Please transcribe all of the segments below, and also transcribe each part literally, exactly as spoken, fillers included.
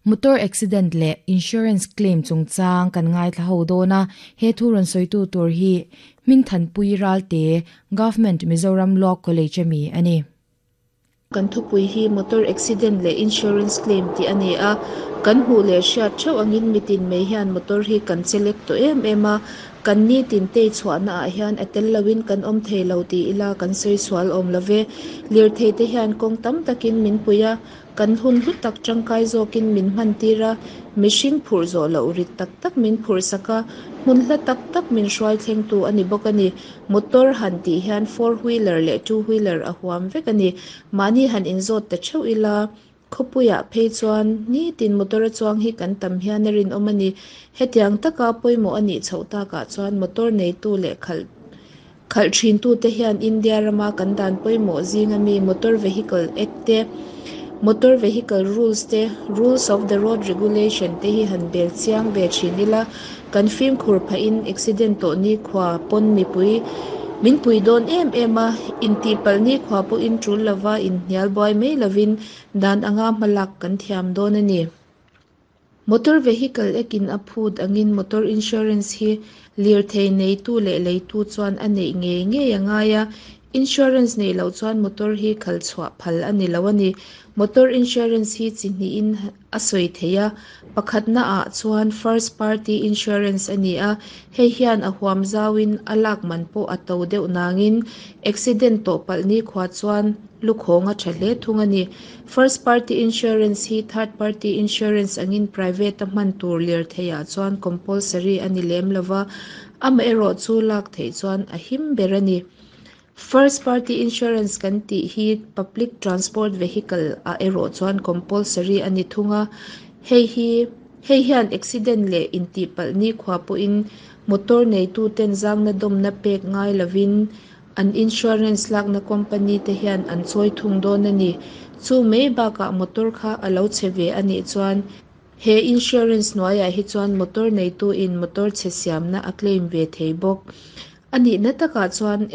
Motor accident leh insurance claim chungchang kan ngaithla ho dawn a, he thu rawn sawitu tur hi Hmingthanpui Ralte, Government Mizoram Law College ami a ni. Kan thupui hi motor accident leh insurance claim tih a ni a, kan hmuh leh hriat theuh angin mitin mai hian motor hi kan chelek tawh em em a, kan nitin tei chhuahna ah hian a tel loin kan awm thei lo ti ila kan sawi sual awm love. Lirthei te hian kawng tam takin min pui a, kan hun hlu tak tangkai zawkin min hman tir a, mihring phurh zawh loh rit tak tak min phurh sak a, hmun hla tak tak min hruai thleng tu a ni bawk a ni. Motor han tih hian four wheeler leh two wheeler a huam vek a ni. Mahni han inzawt ta theuh ila khawpuiah phei chuan nitin motor a chuang hi kan tam hian a rinawm a ni. Hetiang taka pawimawh a nih chhoh takah chuan motor neitu leh khalh khalh thin tu te hian India rama kan dan pawimawh zing ami Motor Vehicle Act te, Motor Vehicle Rules te, Rules of the Road Regulation te hi han bel chiang ve thin ila kan fimkhur phahin accident tawh ni khua pawn mipui min pui dawn em em a, intih palh ni khua pawhin tul lova inhnial buai mai lovin dan anga hmalak kan thiam dawn a ni. Motor Vehicle Act in a phut angin motor insurance hi lirthei neitu leh leitu chuan a neih ngei ngei a ngai a, insurance nei lo chuan motor hi khal chhuah phal a ni lo a ni. Motor insurance hi chi hnihin a sawi thei a, pakhatna ah chuan first party insurance a ni a, hei hian a huam zawin a lak man pawh a to deuh nangin accident tawh palh ni khua chuan lukhawng a tha hle thung a ni. First party insurance hi third party insurance angin private a hman tur lirthei ah chuan compulsory a ni lem lova, amaherawh chu lak theih chuan a him ber a ni. First party insurance kan tih hi public transport vehicle ah erawh chuan compulsory a ni thung a, hei hi hei hian accident leh intih palh ni khua pawhin motor neitu ten zangna dawmna pek ngai lovin an insurance lakna company te hian an chawi thung dawn a ni. Chu mai bakah motor kha a lo che ve a nih chuan he insurance hnuaiah hi chuan motor neitu in motor chhe siamna a claim ve thei bawk. A nihna takah chuan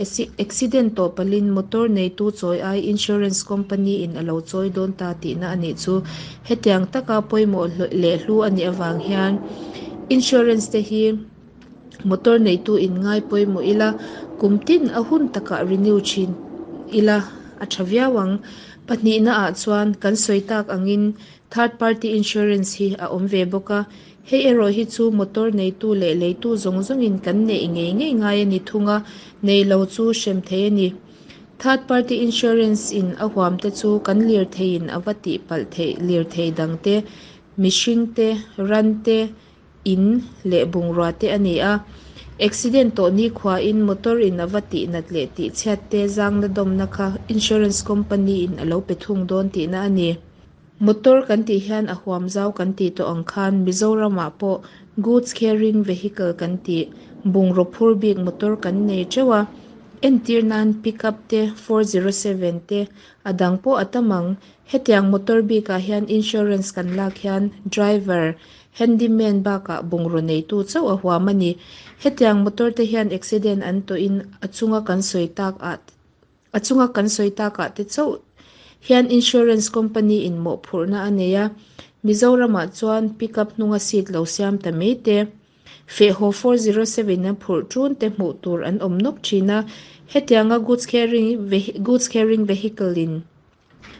accident tawh palhin motor neitu chawi ai insurance company in a lo chawi dawn ta tihna a nih chu. Hetiang taka pawimawh leh hlu a nih avang hian insurance te hi motor neitu in ngai pawimawh ila kum tin a hun takah renew thin ila a tha viau ang. Pahnihna ah chuan kan sawi tak angin third party insurance hi a awm ve bawk a, hei erawh hi chu motor neitu leh leitu zawng zawngin kan neih ngei ngei ngai a ni thung a, nei lo chu hrem thei a ni. Third party insurance in a huam te chu kan lirtheiin a va tih palh theih lirthei dang te, mihring te, ran te, in leh bungrua te a ni a. Accident tawh ni khua in motor in a va tih nat leh tih chhiat te zangna dawmna kha insurance company in a lo pe thung dawn tihna a ni. Motor kan tih hian a huam zau kan tih tawh ang khan Mizoramah pawh goods carrying vehicle kan tih bungraw phur bik motor kan nei teuh a, entir nan pickup te four zero seven te a dang pawh a tam ang. Hetiang motor bikah hian insurance kan lak hian driver, handyman bakah bungraw neitu chauh a huam a ni. Hetiang motor te hian accident an tawhin a chunga kan sawi tak ah a chunga kan sawi takah te chauh hian insurance company in mawh phurhna a nei a. Mizoramah chuan pickup hnunga seat lo siam ta mai te, fehhaw four zero seven a phurh tun te hmuh tur an awm nawk thin a. Hetianga goods carrying goods carrying vehicle in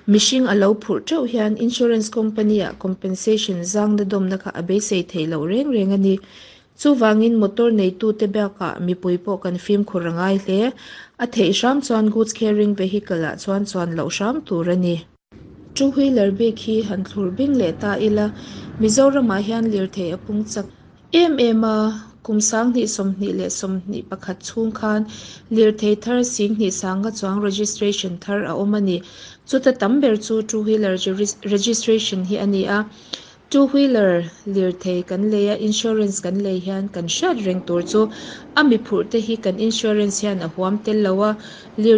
mihring a lo phurh teuh hian insurance company ah compensation zangna dawmna kha a beisei thei loh reng reng a ni. Chuvangin motor neitu te bakah mipui pawh kan fimkhur a ngai hle. A theih hram chuan goods carrying vehicle ah chuan chuan loh hram tur a ni. Two wheeler bik hi han thlur bing leh ta ila Mizoramah hian lirthei a pung chak em em a, kum sanghnih sawmhnih leh sawmhnih pakhat chhung khan lirthei thar singhnih sanga chuang registration thar a awm a ni. Chuta tam ber chu two wheeler registration hi a ni a. Two wheeler lirthei kan lei a, insurance kan lei hian kan hriat reng tur chu a mi phurh te hi kan insurance hian a huam tel lo a, lir